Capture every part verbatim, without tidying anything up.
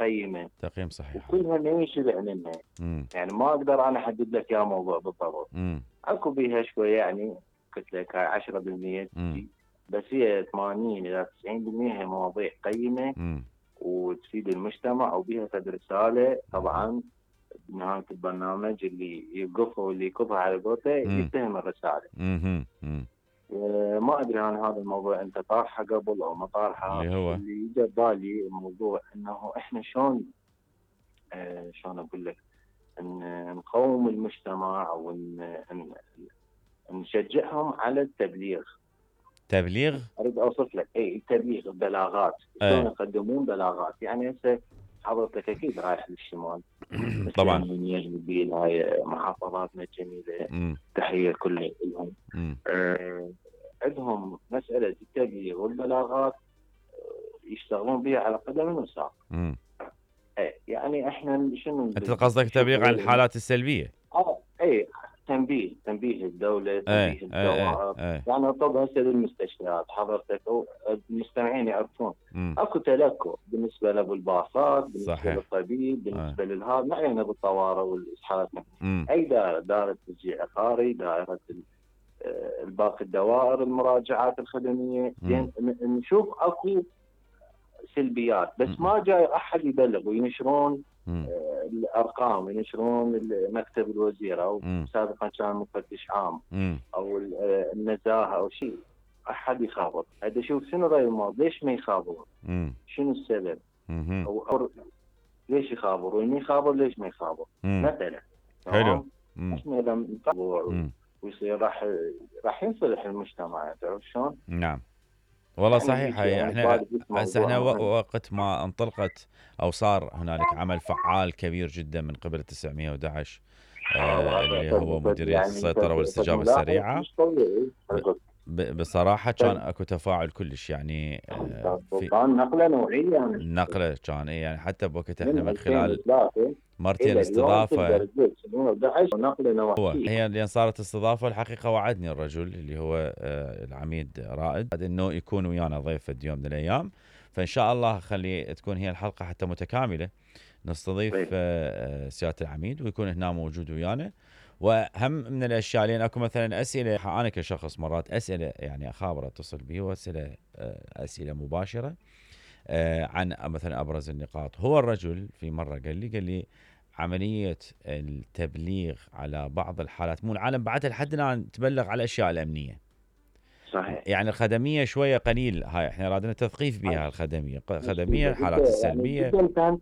قيمه تقييم صحيح، وكلها ما ينشبع منها. مم. يعني ما اقدر انا احدد لك يا موضوع بالضبط. مم. اكو بيها شويه يعني قلت لك هاي عشرة بالمئة تجي، بس هي ثمانين الى تسعين بالمئة هي مواضيع قيمه مم. وتفيد المجتمع وبها فد رساله. طبعا بنهايه البرنامج اللي يوقفها واللي يكبها على قولته يتهم الرساله. مم. مم. ما ادري عن هذا الموضوع انت طارحه قبل او ما طارحه. اللي هو اللي اجى ببالي الموضوع انه احنا شلون آه شلون اقول لك ان نقوم المجتمع او ان نشجعهم على التبليغ. تبليغ؟ اريد اوصف لك اي التبليغ، البلاغات شلون يقدمون بلاغات. يعني هسه حضرتك اكيد رايح للشمال طبعا من هاي محافظاتنا الجميله، تحيه كل لهم. آه عندهم مساله التبليغ والبلاغات يشتغلون بها على قدم وساق. اي يعني احنا شنو انت قصدك تبليغ عن الحالات السلبيه؟ اه اي تنبيه تنبيه الدوله، تنبيه الدوائر. يعني طبعا هسه بالمستشفيات حضرتك المستمعين يعرفون اكو تلكؤ بالنسبه له بالباصات، بالنسبه صحيح. للطبيب، بالنسبه للهذا ما علينا بالطوارئ والاسعافات. اي دائره، دائره تشجيع عقاري، دائره الباقي الدوائر، المراجعات الخدميه. زين نشوف اكو سلبيات بس م. ما جاي احد يبلغ وينشرون آه الارقام، ينشرون مكتب الوزير او م. سابقا كان مفتش عام م. او النزاهه او شيء، احد يخابر. هذا شوف شنو راي الموضوع، ليش ما يخابرون؟ شنو السبب؟ أو, او ليش يخابر وين يخابر، ليش ما يخابر مثلا؟ حلو. احنا اذا نتابع ويصير راح راح ينصلح المجتمع. تعرف شلون؟ نعم والله صحيح. يعني احنا هسه احنا وقت ما انطلقت او صار هنالك عمل فعال كبير جدا من قبل تسعمئة وأحد عشر آه اللي هو مديريه يعني السيطره والاستجابه السريعه، بصراحه كان اكو تفاعل كلش يعني آه في كان نقله نوعيه يعني نقله كان يعني حتى بوقت احنا من خلال مرتين استضافه هو هي اللي صارت استضافه. الحقيقه وعدني الرجل اللي هو العميد رائد انه يكون ويانا ضيف في يوم من الايام، فان شاء الله خلي تكون هي الحلقه حتى متكامله، نستضيف سياده العميد ويكون هنا موجود ويانا. وهم من الاشياء لان اكو مثلا اسئله انا كشخص مرات اسئله يعني اخابر اتصل به واسئله اسئله مباشره عن مثلا ابرز النقاط. هو الرجل في مره قال لي قال لي عمليه التبليغ على بعض الحالات مو العالم بعدها لحد الان تبلغ على الاشياء الامنيه صحيح. يعني الخدميه شويه قليل، هاي احنا رادنا تثقيف بها الخدميه الخدميه الحالات السلبيه. يعني جدا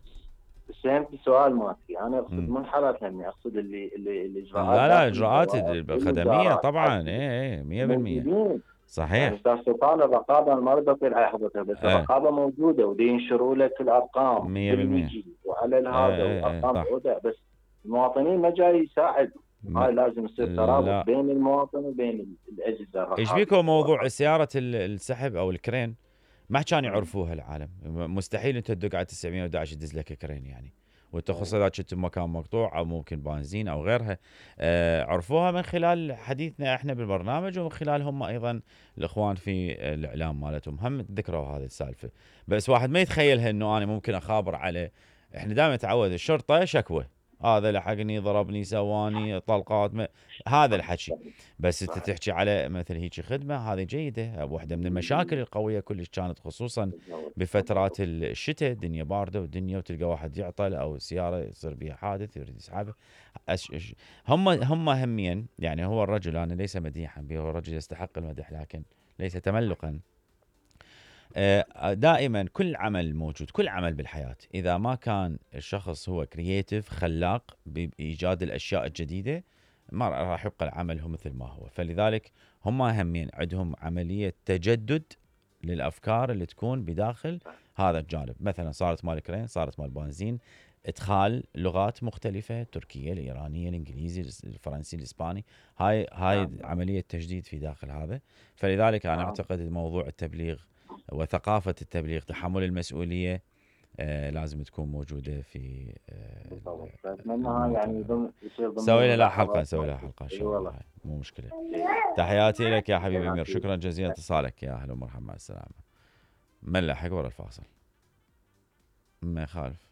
فهمت السؤال مالتي، انا اقصد مو الحالات الامنيه، اقصد اللي اللي الاجراءات لا لا الاجراءات الخدميه طبعا اي اي مئة بالمئة صحيح. يعني استاذ سلطان الرقابه ما اريد اطيل على حضرتك بس ايه. الرقابه موجوده ودي ينشروا لك الارقام مئة بالمئة وعلى هذا ايه وارقام ايه وده، بس المواطنين ما جاي يساعد. هاي لازم يصير ترابط بين المواطن وبين الاجهزه الرقابيه. ايش بيكم موضوع سياره السحب او الكرين ما كانوا يعرفوها العالم؟ مستحيل انت تدق على تسعمئة وأحد عشر يدز لك كرين يعني، والتخصص اذا كنت بمكان مقطوع او ممكن بنزين او غيرها. آه عرفوها من خلال حديثنا احنا بالبرنامج ومن خلال هم ايضا الاخوان في الاعلام مالتهم هم ذكروا هذه السالفه. بس واحد ما يتخيلها انه انا ممكن اخابر على، احنا دائما نتعود الشرطه شكوى، هذا لحقني ضربني سواني طلقات ما... هذا الحكي. بس انت تحكي على مثل هيك خدمه هذه جيده. واحده من المشاكل القويه كلش كانت خصوصا بفترات الشتاء، الدنيا بارده والدنيا وتلقى واحد يعطل او سياره يصير بها حادث يريد يسحبه. أش... هم هم همين يعني. هو الرجل انا ليس مديحا به، هو الرجل يستحق المدح لكن ليس تملقا. دائما كل عمل موجود، كل عمل بالحياة إذا ما كان الشخص هو كرييتيف خلاق بإيجاد الأشياء الجديدة ما راح يبقى العمل هو مثل ما هو. فلذلك هم همين عندهم عملية تجدد للأفكار اللي تكون بداخل هذا الجانب. مثلا صارت مال كرين، صارت مال بنزين، ادخال لغات مختلفة، تركية، الإيرانية، الإنجليزي، الفرنسي، الإسباني، هاي هاي عملية تجديد في داخل هذا. فلذلك أنا أعتقد موضوع التبليغ وثقافة التبليغ، تحمل المسؤولية آه لازم تكون موجودة في آه اتمنى يعني سوي لها حلقة نسوي لها حلقة ان شاء الله. مو مشكلة. تحياتي لك يا حبيبي امير، شكرا جزيلا اتصالك، يا اهلا ومرحبا مع السلامة. من لحق ورا الفاصل ما يخالف.